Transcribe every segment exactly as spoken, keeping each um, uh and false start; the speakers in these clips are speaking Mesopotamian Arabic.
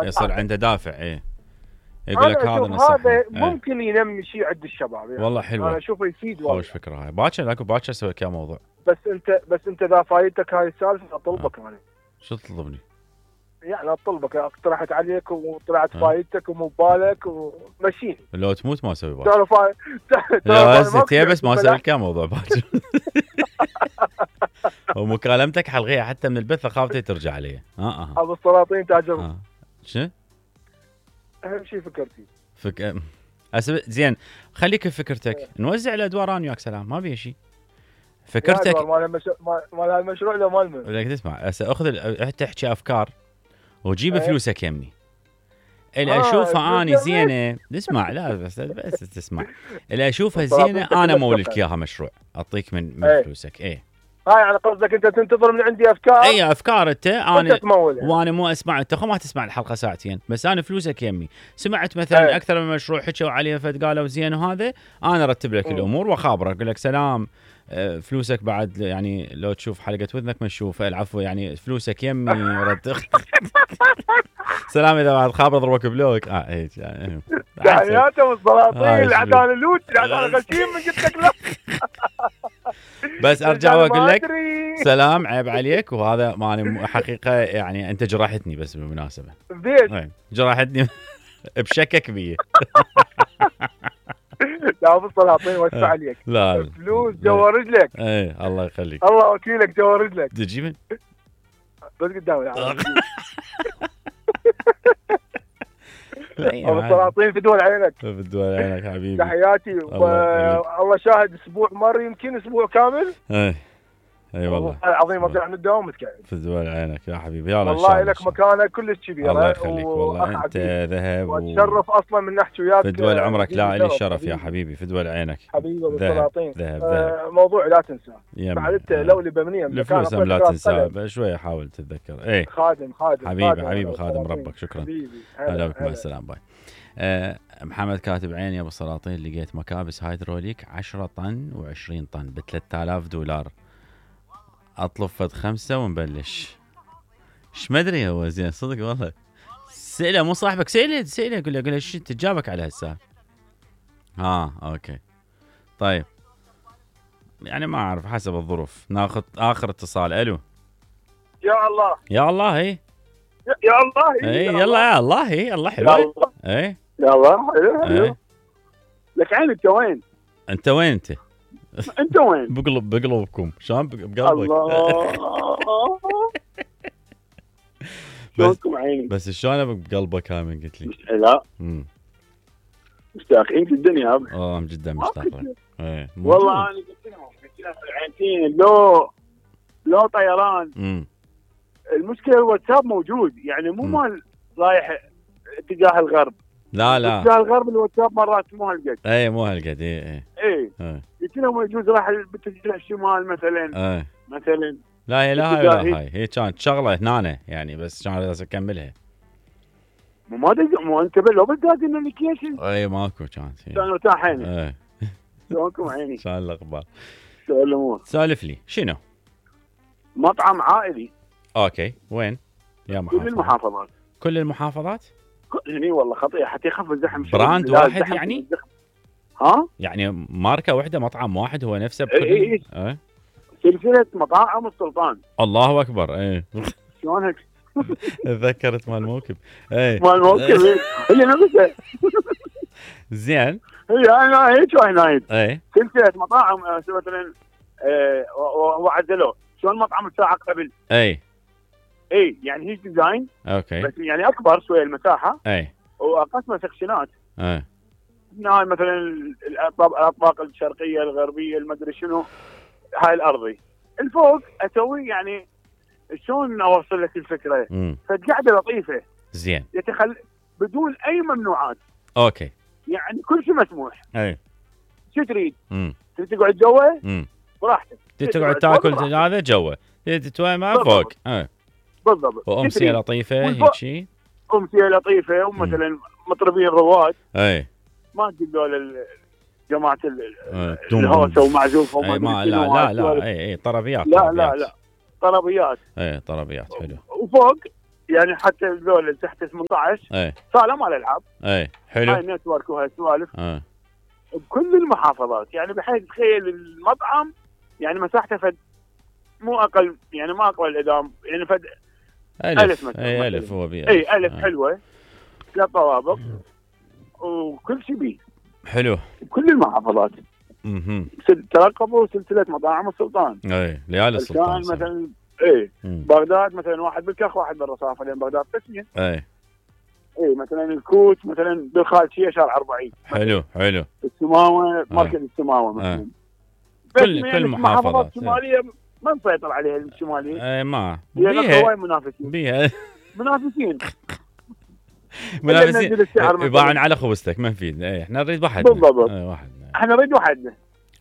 يصير عنده دافع. ايه يقول لك هذا نصح هذا ممكن ايه. ينمي شيء عند الشباب يعني. والله حلوه، انا اشوفه يفيد والله. خوش فكره هاي. باكر اكو باكر اسوي لك موضوع. بس انت بس انت اذا فايتك هاي السالفه اطلبك انا. شو تطلبني؟ يعني اطلبك، اقترحت عليك وطلعت فايتك ومو ببالك ومشيني. لو تموت ما اسوي باكر. تعرف لا هسه بس ما اسوي لك موضوع باكر. ومكالمتك حلغيها حتى من البث، خافتي ترجع علي. اه اه ابو السلاطين تاجر. آه. شو؟ اهم شيء فكرتي. فك أسب... زين خليك بفكرتك. اه. نوزع الادوار انا وياك سلام، ما بيه شيء. فكرتك مال المش... مال هالمشروع لو مال من؟ بدك تسمع هسه اخذ ال... تحكي افكار وجيب اه. فلوسك يمي. اللي آه اشوفها اني زينه اسمع. لا بس بس تسمع. اللي اشوفها زينه انا مولك اياها مشروع، اعطيك من, من اه. فلوسك. ايه هاي على قصدك انت تنتظر من عندي افكار؟ اي افكار انت. انا يعني. وانا مو اسمع، انت خو ما تسمع الحلقه ساعتين بس انا فلوسك يمي. سمعت مثلا أي. اكثر من مشروع حكوا عليه فد قالوا زين وهذا، انا ارتب لك م. الامور واخابرك اقول لك سلام فلوسك بعد يعني لو تشوف حلقه وذنك ما تشوف. العفو يعني فلوسك يمي رد. سلام اذا بعد خابر اضربك بلوك. اه هيك يعني تحياته والسلاطين العداله اللوت العداله غشيم من قلت لك لا. بس ارجع واقول لك سلام عيب عليك، وهذا ماني حقيقه يعني انت جرحتني بس بالمناسبه. ليش؟ جرحتني بشكك بيه. لا ابو السلاطين وسع عليك. لا فلوس جوا رجلك. اي الله يخليك. الله وكيلك جوا رجلك. تجي من؟ بس قدامي. ابو السلاطين في دول عينك. في دول عينك حبيبي. تحياتي. والله شاهد اسبوع مر يمكن اسبوع كامل. اي اي والله العظيم اطلع من الدوام متكعب. في دول عينك يا حبيبي. يلا والله لك مكانه كلش كبيره. الله يخليك والله انت ذهب. واتشرف اصلا من نحكي وياك. في دول عمرك لا لي الشرف يا حبيبي. في دول عينك حبيبي ابو السلاطين. ذهب ذهب. موضوع لا تنساه بعد انت لولي بمنيه الفلوس لا تنساه شويه حاول تتذكر. ايه خادم خادم حبيبي خادم حبيبي خادم ربك. شكرا. هلا بك مع السلامه باي. أه محمد كاتب عيني يا ابو السلاطين لقيت مكابس هيدروليك عشرة طن وعشرين طن ب ثلاثة آلاف دولار. اطلب فد خمسه ونبلش. ايش ما ادري هو زين صدق والله. سئله مو صاحبك سئله سئله قول له قول له ايش تجابك على هالسالفه. ها اوكي طيب يعني ما اعرف حسب الظروف. ناخذ اخر اتصال. الو يا الله يا الله. هي يا الله. اي يلا يا الله. هي الله حلو. اي يا الله حلو حلو. لك عين انت وين؟ انت وين انت؟ انت وين؟ بقلب بقلبكم شلون بقلبك؟ الله شلونكم عيني؟ بس شلون بقلبك هاي من قلت لي؟ لا امم مشتاقين في الدنيا. اه جدا مشتاق لك. ايه والله انا قلت لهم قلت لهم العينتين لو لو طيران. امم المشكله الواتساب موجود يعني مو مال رايح اتجاه الغرب. لا لا اتجاه الغرب الواتساب مرات مو هالقد. اي مو هالقد. اي اي اي قلت لهم يجوز راح باتجاه الشمال مثلا. اي مثلا لا هي لا هاي ولا هاي. هي كانت شغله هنا يعني بس كان لازم اكملها. مو ما دق مو انتبه لو بدك النوتيفيكيشن. اي ماكو كانت. كانوا تاحين. اي شلونكم عيني؟ شلون الاخبار؟ شلون الامور؟ سالف لي شنو؟ مطعم عائلي. اوكي وين؟ يا محافظة. كل المحافظات. كل المحافظات؟ هني والله خطير حتى يخف الزحم. براند واحد يعني؟ ها؟ يعني ماركة واحدة مطعم واحد هو نفسه بكل. اي اي اه سلسلة مطاعم السلطان. الله اكبر. اي شلون هيك؟ تذكرت مال موكب. اي مال موكب اللي نفسه. زين هي انا هيك هنايد. اي سلسلة مطاعم مثلا وعدلوه شلون مطعم الساعة قبل. اي اي يعني هي ديزاين. اوكي بس يعني اكبر شويه المساحه. اي وقسمه سكشنات. اي هنا مثلا الاطباق الشرقيه الغربيه المدري شنو. هاي الارضي الفوق اسوي يعني شلون اوصل لك الفكره. فقعده لطيفه زين يتخل بدون اي ممنوعات. اوكي يعني كل شيء مسموح. اي شو تريد؟ تريد تقعد جوا براحتك. تريد تقعد تاكل هذا جوا. تريد ما فوق. اي بالضبط. وامسيه لطيفه هيك شيء. امسيه لطيفه ومثلا مطربين رواد. اي ما تقول جماعه الهوسه ومعزوفه وما ما لا لا لا اي اي طربيات. لا لا لا طربيات. اي طربيات حلو. وفوق يعني حتى الذول اللي تحت ثمانية عشر اي صاله مال العاب. اي حلو. هاي النتورك وهاي السوالف اي بكل المحافظات، يعني بحيث تخيل المطعم يعني مساحته فد مو اقل، يعني ما اقل الادام، يعني فد ألف, ألف مثلا. اي ألف هو بيه اي ألف آه. حلوه، ثلاث طوابق وكل شيء بيه حلو بكل المحافظات. اها ترقبوا سلسله مطاعم السلطان. اي ليالي السلطان مثلا. اي بغداد مثلا واحد بالكخ واحد بالرصافه، لان بغداد قسمين. اي اي مثلا الكوت مثلا بالخالشيه شارع أربعين. حلو حلو. السماوه مركز السماوه مثلا. كل كل محافظات الشماليه ما نسيطر عليها الشماليه. اي ما بيها هواي منافسين بيها منافسين منافسين يباعون على خوستك ما نفيد. اي احنا نريد واحد بالضبط. اي واحد احنا نريد وحدنا.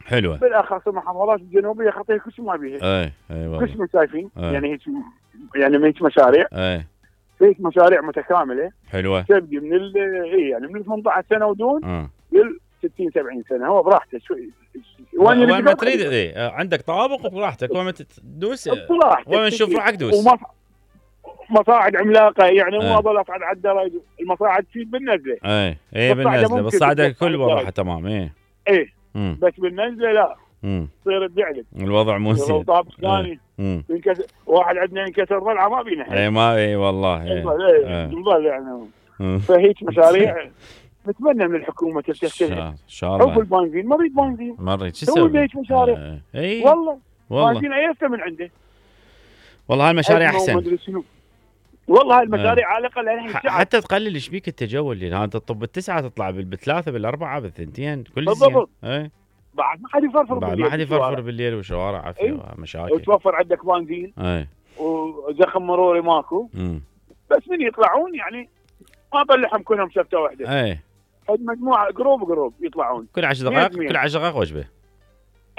حلوه. بالاخص المحافظات الجنوبيه خطيه كل شيء ما بيها. اي اي والله كل شيء شايفين. يعني هيك يعني هيك مشاريع. اي هيك مشاريع متكامله حلوه تبدي من ال اي يعني من ثمانية عشر سنه ودون اه لل ستين سبعين سنه، هو براحته شوي وين وين ما تريد. اي عندك طوابق براحتك، وين ما تدوس وين نشوف روحك دوس. مصاعد عملاقه يعني مو اظل اصعد على الدرج، المصاعد تفيد بالنزله. اي اي بالنزله بالصعده الكل بروحه تمام. اي اي بس بالنزله لا امم تصير تدعلك الوضع مو زين. طابق ثاني ينكسر واحد عندنا ينكسر ضلعه ما بينا. اي ما اي والله اي نضل يعني. فهيك مشاريع نتمنى من الحكومه تفتح ان شاء الله. حب البنزين ما اريد بنزين ما اريد شو اسوي هيك مشاريع. اي والله والله بنزين ايسته من عنده. والله هالمشاريع احسن والله هاي المشاريع على الاقل الحين حتى تقلل ايش بيك التجول اللي انت تطب بالتسعه تطلع بالثلاثه بالاربعه بالثنتين كل زين. بالضبط. اي بعد ما حد يفرفر بعد بالليل. ما حد يفرفر بالليل وشوارع عافيه مشاكل. وتوفر عندك بنزين. اي وزخم مروري ماكو. امم بس من يطلعون يعني ما بلحهم كلهم شفته واحده. اي فد مجموعه جروب جروب يطلعون كل عشر دقائق كل عشر دقائق وجبه.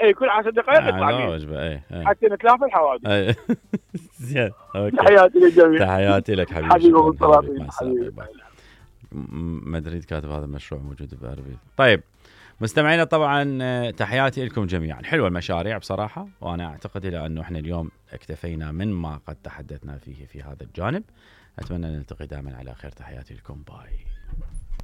اي كل عشر دقائق يطلع وجبه. اي حتى نتلافى الحوادث. اي زين اوكي. تحياتي للجميع. تحياتي لك حبيبي. حبيبي والسلاطين. مدريد كاتب هذا المشروع موجود بأربيل. طيب مستمعينا طبعا تحياتي لكم جميعا. حلوه المشاريع بصراحه، وانا اعتقد الى انه احنا اليوم اكتفينا من ما قد تحدثنا فيه في هذا الجانب. اتمنى ان نلتقي دائما على خير. تحياتي لكم. باي.